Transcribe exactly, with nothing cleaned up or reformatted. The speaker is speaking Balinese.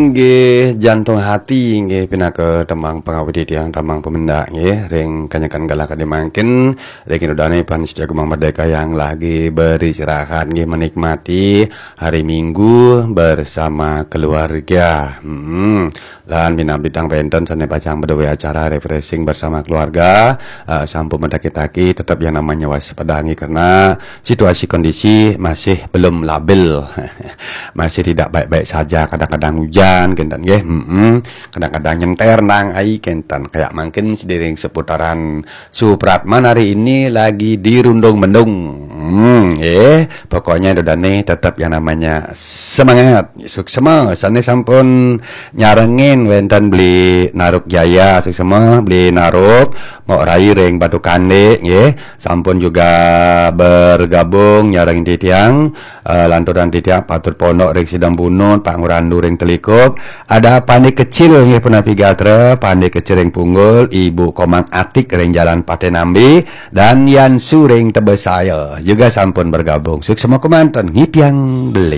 Inggih, Jantung Hati, inggih pinaka tembang pangawit titiang, tembang pemendak, inggih, ring kanyekan galah kadi mangkin, ring ida dane Pan Setia Gumang Merdeka yang lagi beristirahat, inggih, menikmati hari Minggu bersama keluarga. Hmm. Lan minab bidang wenten sane pacang bedoe acara refreshing bersama keluarga, eh, sampun medaki-taki, tetap yang namanya waspada, inggih, karena situasi kondisi masih belum labil. Masih tidak baik-baik saja, kadang-kadang hujan, kenten, nggih. Mm-mm. Kadang-kadang nyenter nang ai, kenten. Kayak mangkin sediring seputaran Supratman hari ini lagi dirundung mendung. Hmm, nggih. Pokoknya ida dane tetap yang namanya semangat. Suksema, sane sampun nyarengin wenten Beli Narup Jaya, suksema Beli Narup, Mok Rai ring Batu Kande, nggih. Sampun juga bergabung nyarengin titiang, eh, lanturan titiang Patur Pondok ring Sidang Bunut, Pak Ngurandu ring Telikup, ada Pande Kecil, nggih, punapi gatra, Pande Kecil ring Punggul, Ibu Komang Atik ring Jalan Patenambi, dan Yansu ring Tebesaya juga sampun bergabung. Suksema kemanten, ngipiang beli.